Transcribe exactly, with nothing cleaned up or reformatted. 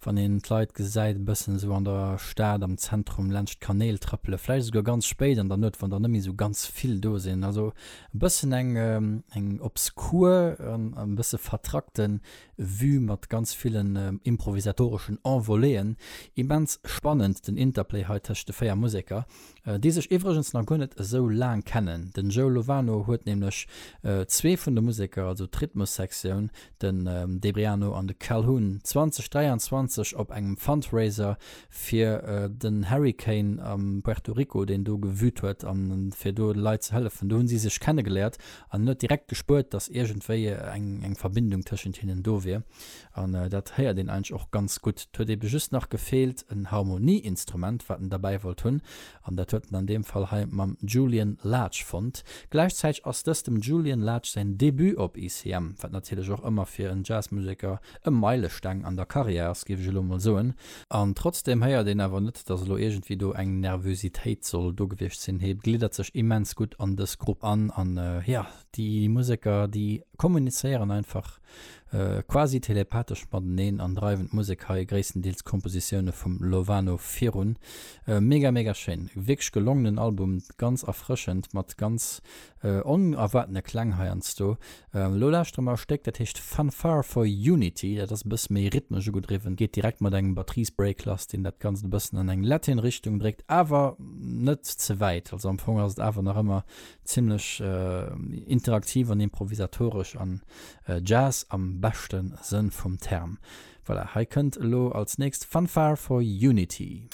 wann een d'Leit gesäit e bëssen esou an der Stad am Zentrum laanscht d'Kanäl trëppele, vläicht esouguer ganz spéit an der Nuet, wann der net méi esou ganz vill do sinn. Also e bëssen eng eng obskur an e bësse vertrackte Vue mat ganz villen improvisatoreschen Envoléeën. Immens spannend den Interplay hei tëscht de véier Museker, déi sech iwwregens nach guer net esou laang kennen. Den Joe Lovano huet nämlech zwee vun de Museker, also d'Rhythmussektioun, den Debriano an de Calhoun, zweitausenddräianzwanzeg op engem Fundraiser fir den Hurricane am Puerto Rico, deen do gewüt huet, a fir do de Leit ze hëllefen, do hu si sech kennegeléiert an en huet direkt gespuert, datt iergendwéi eng eng Verbindung tëschent hinnen do wier. An dat héiert een eigentlech och ganz gutt. Et huet ebe just nach gefeelt en Harmonieinstrument, wat en derbäi wollt hunn, an dat huet en an deem Fall hei mam Julian Lage fonnt. Gläichzäiteg ass dëst dem Julian Lage säin Debut op E C M, wat natierlech och ëmmer fir en Jazzmuseker e Meilesteng an der Karriär ass, géif ech elo mol soen. An trotzdeem héiert een awer net, dass elo iergendwéi do eng Nervösitéit soll do gewiescht sinn. Hie gliddert sech immens gutt an dës Grupp an an jo, déi Museker, déi kommunizéieren einfach quasi telepathesch mateneen an dreiwen d'Musek hei, gréisstendeels Kompositioune vum Lovano, virun. Mega mega schéin, wierklech gelongenen Album, ganz erfrëschend mat ganz onerwaartene Kläng heiansdo. Elo lauschtere mer e Stéck, dat heescht Fanfare for Unity, dat ass e bësse méi rhythmesch ugedriwwen, geet direkt mat engem Batteriesbreak lass, deen dat Ganzt e bëssen an eng Latin Richtung dréckt, awer net ze wäit, also am Fong ass et awer nach ëmmer zimmlech interaktiv an improvisatoresch an Jazz am beschte Sënn vum Term. Voilà, hei kënnt elo als nächst Fanfare for Unity.